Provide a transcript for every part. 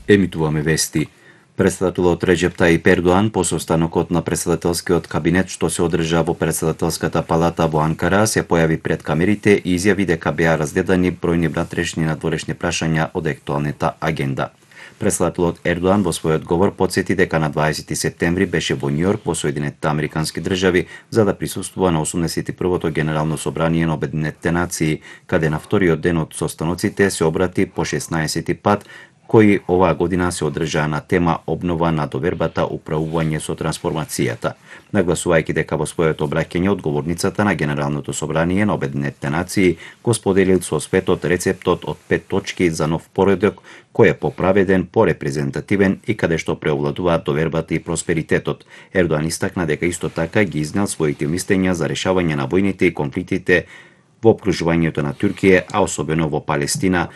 Емитуваме вести. Председателот Реџеп Тајип Ердоан по состанокот на председателскиот кабинет што се одржа во председателската палата во Анкара се појави пред камерите и изјави дека беа разгледани бројни внатрешни и надворешни прашања од актуелната агенда. Председателот Ердоан во својот говор потсети дека на 20 септември беше во Њујорк во Соединетите Американски држави за да присуствува на 81-то Генерално собрание на Обединетите нации, каде на вториот ден од состаноците се обрати по 16 пат, кои оваа година се одржаа на тема обнова на довербата, управување со трансформацијата. Нагласувајќи дека во своето обраќање одговорницата на Генералното собрание на Обединетите нации го споделил со светот рецептот од 5 точки за нов поредок кој е поправеден, порепрезентативен и каде што преовладуваат довербата и просперитетот. Ердоан истакна дека исто така ги изнел своите мислења за решавање на војните и конфликтите во опкружувањето на Туркија, а особено во Палестина,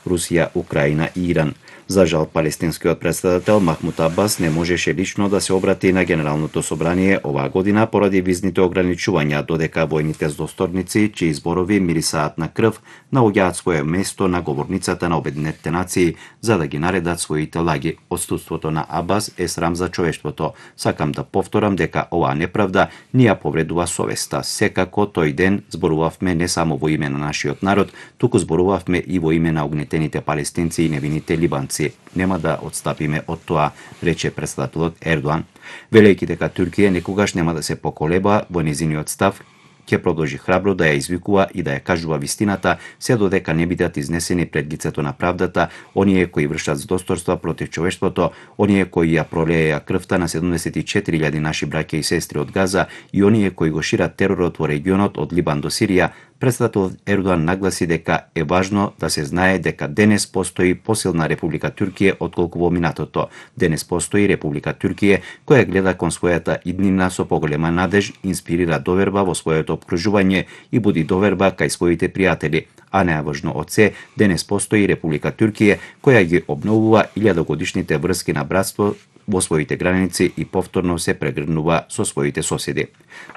Русија, Украина и Иран. За жал, палестинскиот председател Махмуд Абас не можеше лично да се обрати на Генералното собрание оваа година поради визните ограничувања, додека војните здосторници, чии зборови мирисаат на крв, наоѓаат свое место на говорницата на Обединетите нации за да ги наредат своите лаги. Отсутството на Абас е срам за човештвото. Сакам да повторам дека оваа неправда ни ја повредува совеста. Секако тој ден зборувавме не само во име на нашиот народ, туку зборувавме и во име на огнетените палестинци и невините либанци. Нема да отстапиме од тоа, рече председателот Ердоан, велејќи дека Туркија никогаш нема да се поколеба во незиниот став, ќе продолжи храбро да ја извикува и да ја кажува вистината, се додека не бидат изнесени пред лицето на правдата оние кои вршат здосторства против човештвото, оние кои ја пролееа крвта на 74.000 наши браќа и сестри од Газа и оние кои го шират теророт во регионот од Либан до Сирија. Председателот Ердоан нагласи дека е важно да се знае дека денес постои посилна Република Туркија отколку во минатото. Денес постои Република Туркија која гледа кон својата иднина со поголема надеж, инспирира доверба во своето опкружување и буди доверба кај своите пријатели. А најважно од се, денес постои Република Туркија која ги обновува 1000-годишните врски на братство во своите граници и повторно се прегрнува со своите соседи.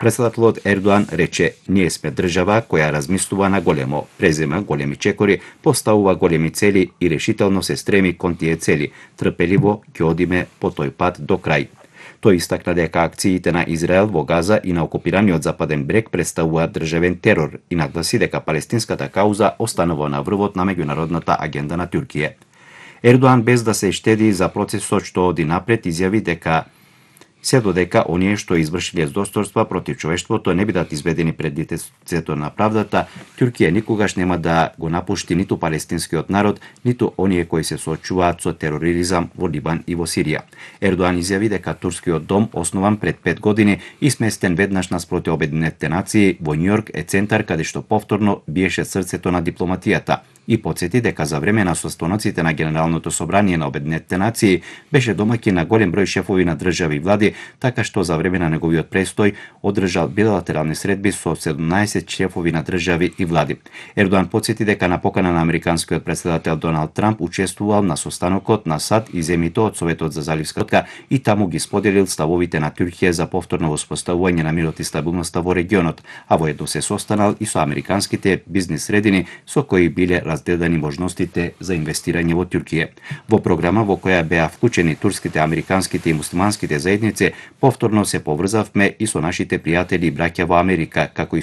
Председателот Ердоан рече: "Ние сме држава која размислува на големо, презема големи чекори, поставува големи цели и решително се стреми кон тие цели. Трпеливо ќе одиме по тој пат до крај." Тој истакна дека акциите на Израел во Газа и на окупираниот Западен брег представуваат државен терор и нагласи дека палестинската кауза останува на врвот на меѓународната агенда на Туркија. Ердоан, без да се штеди за процесот што оди напред, изјави дека се додека оние што извршиле здосторства против човештвото не бидат изведени пред лицето на правдата, Туркија никогаш нема да го напушти ниту палестинскиот народ, ниту оние кои се соочуваат со тероризам во Либан и во Сирија. Ердоан изјави дека турскиот дом, основан пред 5 години и сместен веднаш наспроти Обединетите нации во Њујорк, е центар каде што повторно биеше срцето на дипломатијата. И потсети дека за време на состаноците на Генералното собрание на Обединетите нации беше домаќин на голем број шефови на држави и влади, така што за време на неговиот престој одржал билатерални средби со 17 шефови на држави и влади. Ердоан потсети дека на покана на американскиот председател Доналд Трамп учествувал на состанокот на САД и земјите од Советот за заливска отка и таму ги споделил ставовите на Туркија за повторно воспоставување на мирот и стабилноста во регионот, а воедно се состанал и со американските бизнис средини со кои биле разгледани можностите за инвестирање во Туркија. Во програма во која беа вклучени турските, американските и муслиманските заедници, повторно се поврзавме и со нашите пријатели и браќа во Америка, како и со